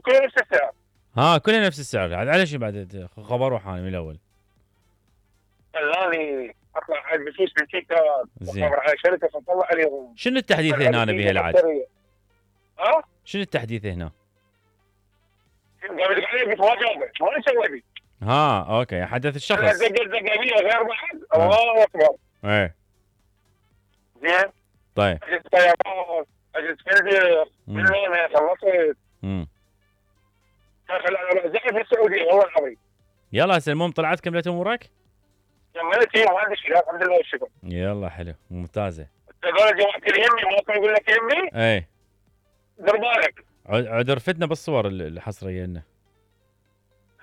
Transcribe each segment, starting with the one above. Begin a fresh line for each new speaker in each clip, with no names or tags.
كله نفس السعر.
ها كلها نفس السعر. عاد على شي بعد خبر روحاني من الاول.
خلاني اطلع على بفلوس من تيك توك
زين.
وخبر على شركه فطلع عليهم.
شنو التحديث هنا بها العاد؟
ها؟
شنو التحديث هنا؟
قاعد يقول علي بتواجهه ما نسوي بي.
ها اوكي حدث الشخص.
زقابيه غير بعد. الله اكبر.
ايه
زين.
طيب.
اجت طيارات، اجت فندق، من وين خلصت. زعل في السعوديه والله العظيم.
يلا هسه المهم طلعت كملت امورك؟
كملت هي ما عندي شيء الحمد لله والشكر.
يلا حلو ممتازه.
تقول جماعه اليمي ما كان يقول لك يمي؟
ايه
دير بالك.
عاد رفتنا بالصور الحصريه لنا.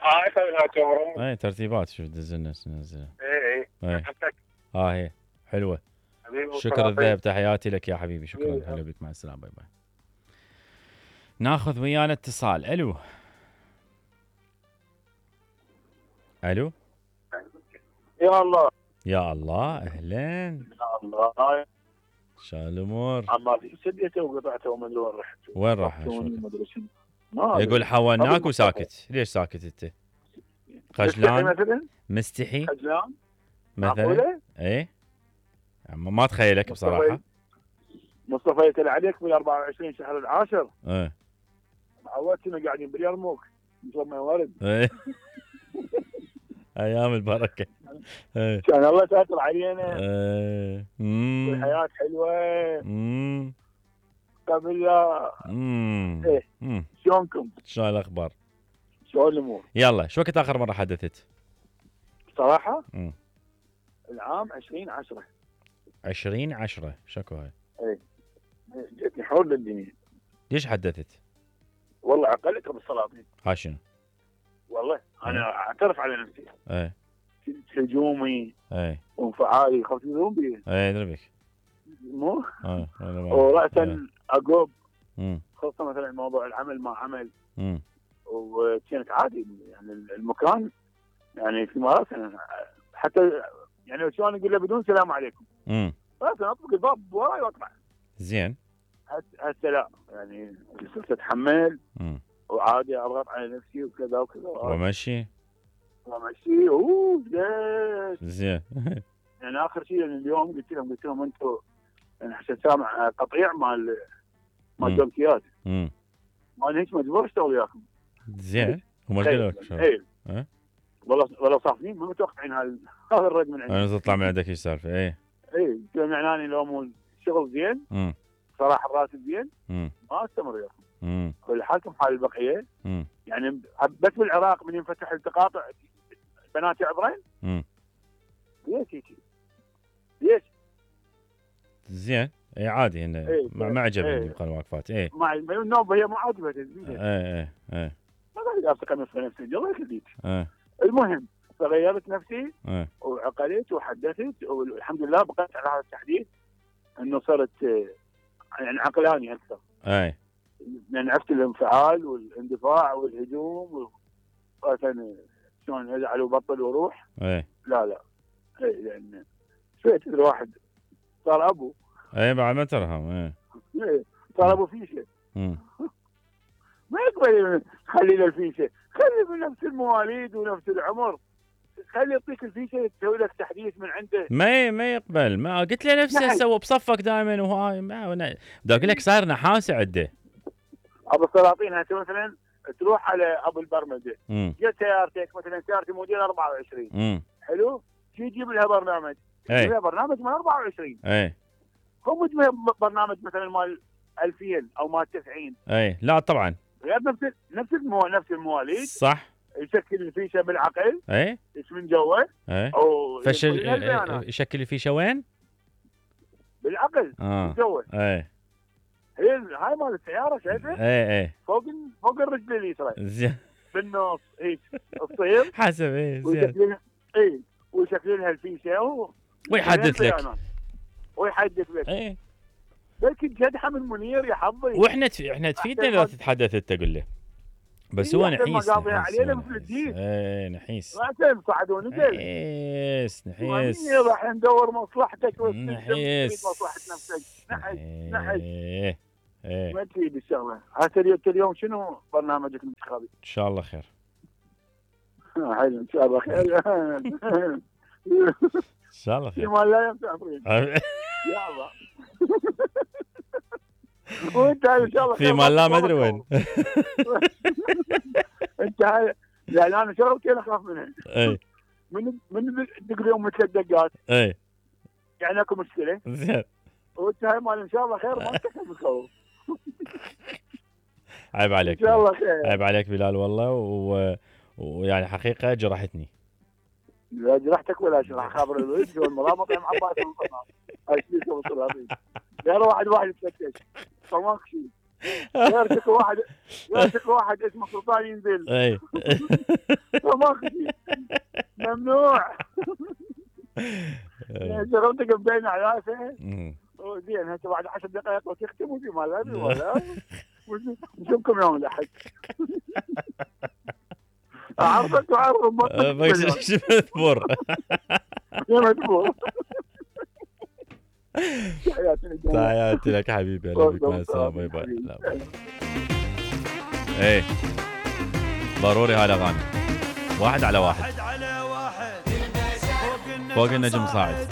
هاي سويناها
ايه ترتيبات شوف دزلنا ننزلها.
ايه
هي حلوه. شكرا الذهب تحياتي لك يا حبيبي. شكرا هلا بك مع السلامه باي باي. ناخذ ويانا اتصال. الو الو
يا الله
يا الله اهلا.
يا الله
شو الامور؟
عمال سديته وقطعته وما ادري وين رحت.
وين راح؟
ما
يقول حولناك وساكت. ليش ساكت انت؟ خجلان؟ مستحي؟
خجلان؟
مثلا؟ ايه ما اتخيلك بصراحه.
مصطفى يتل عليك بال 24 شهر العاشر.
ايه
عودتنا قاعدين باليرموك مثل ما ورد.
ايه ايام البركه. ايه
كان الله ساتر علينا.
ايه
والحياه حلوه. قبل لا. ايه شلونكم؟
شلون الاخبار؟
شلون الامور؟
يلا شو وقت اخر مره حدثت؟
صراحه؟ العام 2010.
2010 شكو هاي؟
ايه جتني حول للدنيا.
ليش حدثت؟
والله عقلتها بالسلاطين.
ها شنو؟
والله انا اعترف على نفسي.
ايه
كنت هجومي.
ايه
وانفعالي خفت يدرون بي.
ايه ادري بك.
مو؟ وراسا اقوب. خصوصا مثلا موضوع العمل ما عمل. وكانت عادي يعني المكان يعني في مراسم حتى يعني شلون اقول له بدون سلام عليكم. راسا اطلق الباب وراي واطلع.
زين.
هسه لا يعني صرت اتحمل. وعادي اضغط على نفسي وكذا وكذا.
ومشي.
زين. يعني اخر شيء يعني اليوم قلت لهم انتم يعني حسيت سامع قطيع مال دوكيات. ما هيك مجبور اشتغل وياكم.
زين. هم ايش قالوا لك؟
ايه والله صافين ما متوقعين هذا الرد من عندي.
انا تطلع من عندك ايش سالفه؟ ايه
معناني لو مو الشغل زين. صراحه الراتب زين. ما استمر وياكم. حالكم حال البقيه. يعني بس بالعراق من ينفتح التقاطع بنات يعبرين. ليش؟
زين. اي عادي هنا. ما عجبني الوقفات. ايه
مع النوبه هي مو عاجبه.
ايه
ما قاعد افتكر في نفسي الله يخليك. المهم فغيرت نفسي. وعقلت وحدثت والحمد لله بقيت على هذا التحديث انه صرت يعني عقلاني اكثر. يعني عرفت الانفعال والاندفاع والهجوم وكان شلون ازعل وبطل وروح. لا يعني شويه الواحد صار ابو.
بعد ما ترهم.
صار ابو فيشه. ما يقبل خلي له الفيشه. خلي من نفس المواليد ونفس العمر. خلي يعطيك الفيشه تسوي لك تحديث من عنده.
ما يقبل. ما قلت له نفسه سوى بصفك دائما وهاي بدي اقول لك صار نحاسه عنده.
ابو السلاطين هسه مثلا تروح على ابو البرمجه. جت سيارتك مثلا سيارتي موديل 24. حلو؟ شو تجيب لها برنامج؟ تجيب لها برنامج مال 24. هم تجيب برنامج مثلا مال 2000 او مال 90.
لا طبعا.
غير نفس المواليد.
صح.
يشكل الفيشه بالعقل. اسم من جوه.
او يشكل الفيشه وين؟
بالعقل. من جوه. هاي مال السياره شايفه؟ فوق الرجل اليسرى.
زين.
بالنص هيك تصير
حسب زين.
ويشكل لها الفيشه
ويحدث لك.
لكن جدحه من منير يا حظي.
واحنا تفيدنا اذا تتحدث انت قول له. بس هو نحيس.
علينا مثل الدين.
نحيس.
راسا صعدوني
نحيس.
راح ندور مصلحتك
نحيس.
مصلحه نفسك. نحس. ما تفيد الشغله. هسه اليوم شنو برنامجك الانتخابي؟
ان شاء الله خير.
حلو ان شاء الله خير.
ان شاء الله خير.
فيما لا ينفع يا الله. وانت ان شاء الله
فيما لا ما ادري وين.
انت هاي يعني انا شغلتين اخاف منها.
اي
من تدق اليوم مثل الدقات.
اي
يعني اكو مشكله.
زين.
وانت هاي مال ان شاء الله خير ما تكفي مخوف.
عيب عليك.
ان شاء الله خير.
عيب عليك بلال والله ويعني حقيقه جرحتني.
لا جرحتك ولا جرح خابر الولد والمرامط يا معباس القناه. هاي شيء توصل هذه. غير واحد يتفتش. فماك شيء. غير واحد اسمه سلطان ينزل.
اي.
فماك شيء. ممنوع. شغلتك بين عياسه. زين هسه بعد 10 دقائق وتختم وفي مال ولا نشوفكم يوم الاحد. عرفت وعرف
شو مذبور. تحياتي لك حبيبي. اهلا بك. مع السلامه. باي باي. ايه ضروري هاي الاغاني. واحد على واحد فوق النجم صاعد.